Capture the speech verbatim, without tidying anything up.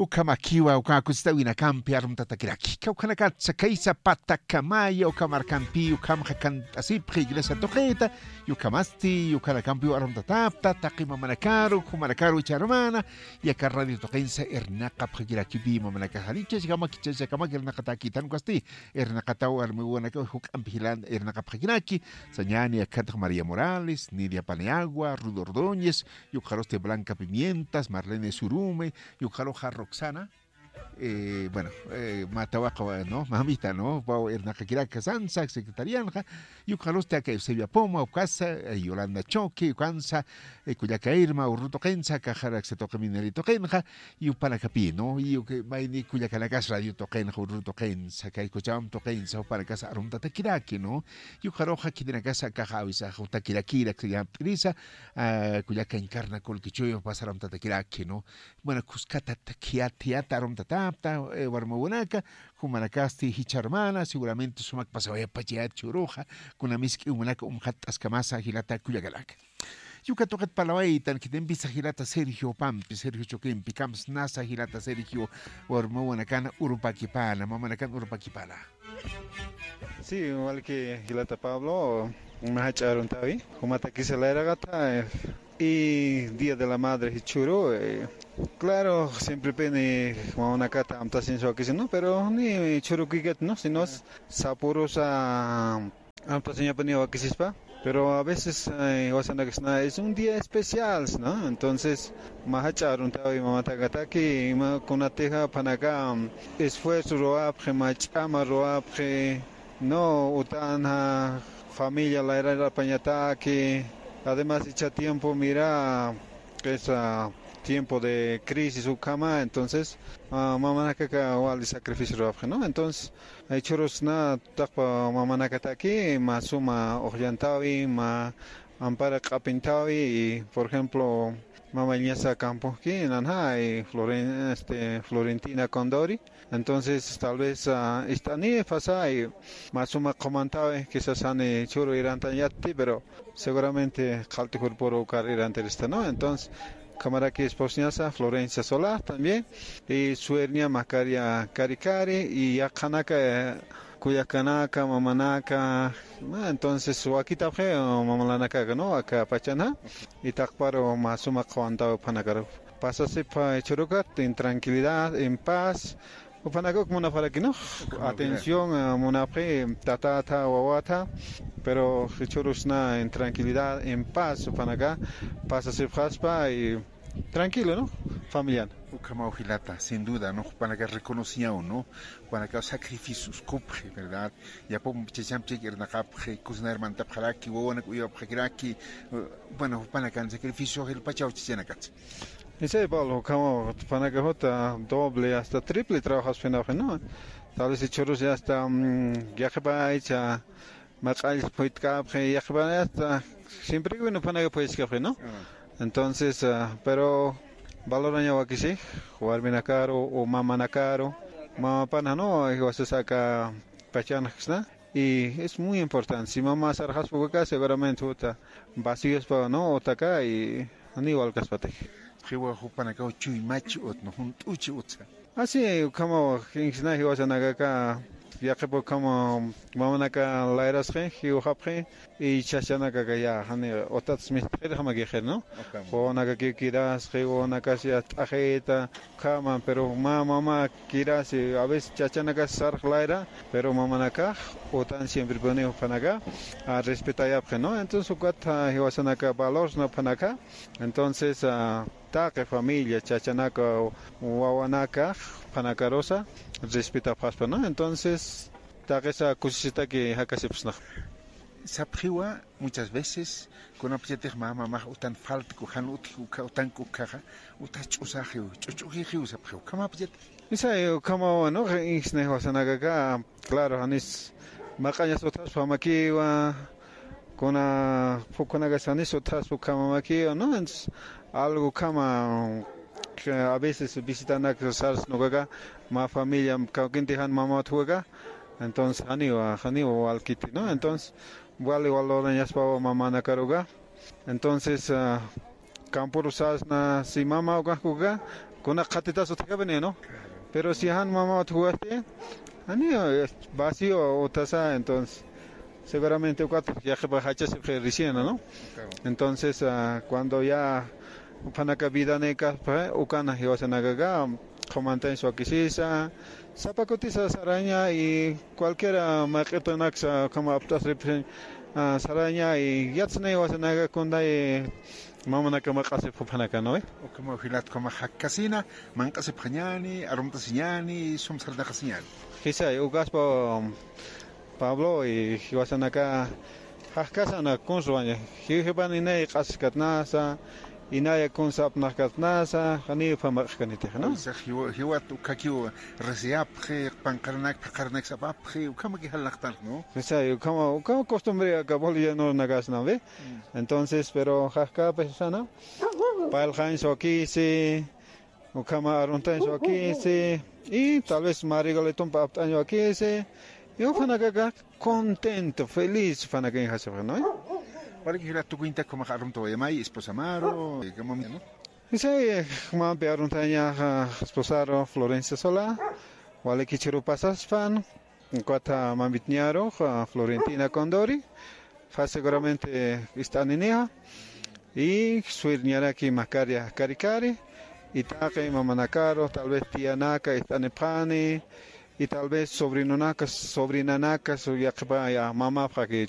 Ukhamakiwa, uka kusistawinakampi arumtatakiraki. Kawkhanakatsa kaysa patakamaya uka markampi, ukhamxa kant'asipxi iglesia tuqita, y ukhamasti, ukhanakampi arumtatapta, taqi mamanakaru, jumanakaru, icha hermana, yaka radio tuqinsa irnaqapxakirakipi mamanakaxa. Ichachakamak, ichachakamak irnaqatakitan ukasti, irnaqataw armiwanaka juk'ampi jilan irnaqapxakiraki, sañani akatx María Morales, Nidia Paniagua, Rudo Ordóñez, y ukxarusti Blanca Pimientas, Marlene Surume, y ukxaruxa Roxana, eh, bueno, eh, mä tawaqa, ¿no? Mamita, ¿no? Paw irnaqakiraka sansa, secretarianxa, y ukxarusti aka Eusebia Poma, ukasa, eh, Yolanda Choque, ukansa, eh, kullaka Irma, urru tuqinsa, kaxaraksa tuqi minería tuqinxa, y jupanakapi, ¿no? Y uka, mayni kullakanakas radio tuqinxa, urru tuqinsa, kay Kuchawam tuqinsa, jupanakas arumtatakiraki, ¿no? Y ukxaruxa khitinakasa kaxa awisax jutakirakira, llapt'irisa, ah, kullaka Encarna Colquichuyo, pas arumtatakiraki, ¿no? Bueno, kuskatata khiyat, khiyat arumtatapta, eh, warmawanaka, jumanakasti jichha hermana, seguramente sumak pasawayapachayat churuxa, kuna misk'i umanaka umxatt'askamasa jilata kullakanaka. Yuka tuqit parlawaytan khitimpisa jilata Sergio Pampi, Sergio Choquempi, kamsnasa jilata Sergio, warmawanakana urupakipana, mamanakan urupakipana. Sí, igual que jilata Pablo, mä jach'a aruntawi, jumatakisa layraqata, eh, y Día de la Madre jichhüru, eh, claro, siemprepini mamanakata amtasiñasa wakisina, ¿no? Pero ni jichhürukikat, ¿no? Sino sapürusa amtasiñapiniw wakisispa. Pero a veces, eh, jiwasanakasna es un día especial, ¿no? Entonces, mä jach'a aruntawi mamatakataki, mä kunatixa jupanaka, mm, esfuerzo ruwapxi, mä ch'ama ruwapxi, ¿no? Utanxa familia layrarapañataki. Además, ichha tiempo, mira, es, ah, tiempo de crisis ukhama, entonces, ah, mamanakaka wali sacrificio ruwapxi, ¿no? Entonces, jichhürusna taqpa mamanakataki, mä suma uqllantawi, mä ampara q'apintawi, y, por ejemplo, mamañasa kampuxki, nanxa, y Floren-, este, Florentina Condori. Entonces, tal vez, ah, ist'ani pasay, mä suma qhumantawi, quizás jani churu irantañatti, pero seguramente qallt'ijurpuru ukar irantirista, ¿no? Entonces, ukhamaraki esposañasa, Florencia Sola también, y suerña Macaria Cari Cari, y yaqhanaka, eh, kullakanaka, mamanaka, ¿no? Entonces, wakitapxi, eh, mamalanakaka, ¿no? Aka pachanxa, y taqparu mä suma qhuwantawi jupanakaru. Pasasipxi jichhürukat, en tranquilidad, en paz, jupanaka uk munapxaraki, ¿no? Atención, eh, munapxi, tatata, wawata, pero jichhürusna en tranquilidad, en paz, jupanaka, pasasipxaspa y tranquilo, ¿no? Familian. Ukhamaw jilata, sin duda, ¿no? Jupanaka reconociyaw, ¿no? Jupanaka sacrificios kupxi, ¿verdad? Yapum chachamp chik irnaqapxi, cocinar mantapxaraki, wawanak uyapxakiraki, eh, bueno, jupanakan sacrificio, jilpachaw chachanakats. Isay, Pablo, ukhamaw jupanaka juta doble, hasta triple trabajasipxi, ¿no? Tal vez jichhürus ya hasta, mm, yaqhipa aycha, mä q'all phuyt'kapxi, yaqhipa ya hasta, siempre que bueno, jupanaka phuyt'kapxi, ¿no? Ah. Entonces, ah, pero valoraña wakisi, warminakaru, o mamanakaru, mamapan, ¿no? Jiwasas aka pachanxa, ¿no? Y es muy importante. Si mama sarxaspa ukaxa, seguramente juta vaciospa, ¿no? Utaka y ni walkaspatix. Jiwa jupanakaw chuymachi ut, ¿no? Junt'uchi utsa. Así, ukhama, jinsna jiwasanakaka, yaqhipa ukhama, mamanaka layrasxi, jiwxapxi, y chachanakaka ya, jani, utats mistxirjamakixa, ¿no? Ukhama. Wawanakakiw kirasxi, wawanakas ya t'axita, ukhama, pero mä mama kirasi, a veces chachanakas sarx layra, pero mamanakax utan siemprepuni jupanaka, ah, respetayapxi, ¿no? Entonces, ukat, ah, jiwasanaka valorsna jupanaka. Entonces, ah, taqi familia, chachanaka, wawanaka, jupanakarusa, respetapxaspa, ¿no? Entonces, taqisa kusisitaki jakasipxsnax. Sapxiwa, muchas veces, kunapachatix mä mamax utan faltku, jan utji ukha, utanku ukhaxa, utas ch'usaxiw, ch'uch'ujixiw sapxiw, ukhamapachatik. Isay, ukhamawa, ¿no? Inksna jiwasanakaka, claro, janis maq'añas utjaspa jamakiwa, kuna, phukhanakas janis utjaspa ukhama jamakiwa, ¿no? Entonces, algo ukhama, que a veces visitanak sarsna ukaka, mä familia, kawkinti jan mama utji ukaka, entonces, janiwa, janiwa walkiti, ¿no? Entonces, wali valorañaspawa mamanakaruka. Entonces, ah, kampuru sasna, si mama ukax uka, Kuna qhatitas utjkapini, ¿no? Pero si jan mama utjkasti, ani, eh, vacío utasa, entonces, seguramente ukat yaqhipa jachasipxi recién, ¿no? Entonces, ah, cuando ya juphanaka vidanïkaspa, ukana jiwasanakaxa, qhumantañ swakisisa, sapa kutisa saraña y cualquiera maq'itunaksa ukhama apt'asripxi, ah, saraña y yatsnï jiwasanaka kunay mamanaka maq'asip juphanaka, ¿no ve? Ukhama jilat ukhama jakkasina, manq'asipxañäni, arumt'asiñäni, sum sarnaqasiñäni. Jisay, ukaspa Pablo y jiwasanaka jakkasana kunswaña. Jiwjipan inay q'askatnasa, inaya kunsa apnaqkatnasa, janiw phamaq'kanitix, ¿no? Jiwa-, jiwat ukhakiw risiyapxi, panqaranak, phaqaranak sapapxi, ukhamaki jalnaqtan, ¿no? Jisay, ukhama, ukhama costumbre aka bolivianonakasna, ¿ve? Entonces, pero jakkäpis sana, payalxañ swakisi, ukhama aruntañ swakisi, y tal vez mä regalitump apt'añ swakisi, y juphanakax contento, feliz, juphanakañ jasipxi, ¿no? Walik jilat tukuñtak ukhamax arumtawayamay, esposamaru, ¿no? Jisay, jumampi aruntañaxa esposaru Florencia Sola, walik jichhüru pasaspan, ukat mamitñaru, ah, Florentina Condori, fa seguramente ist'aninixa, y swirñaraki mä kari, kari kari, y taqi mamanakaru, tal vez tianaka ist'anipxani, y tal vez sobrinonaka, sobrinanaka, su yaqhipa ya mamapxaki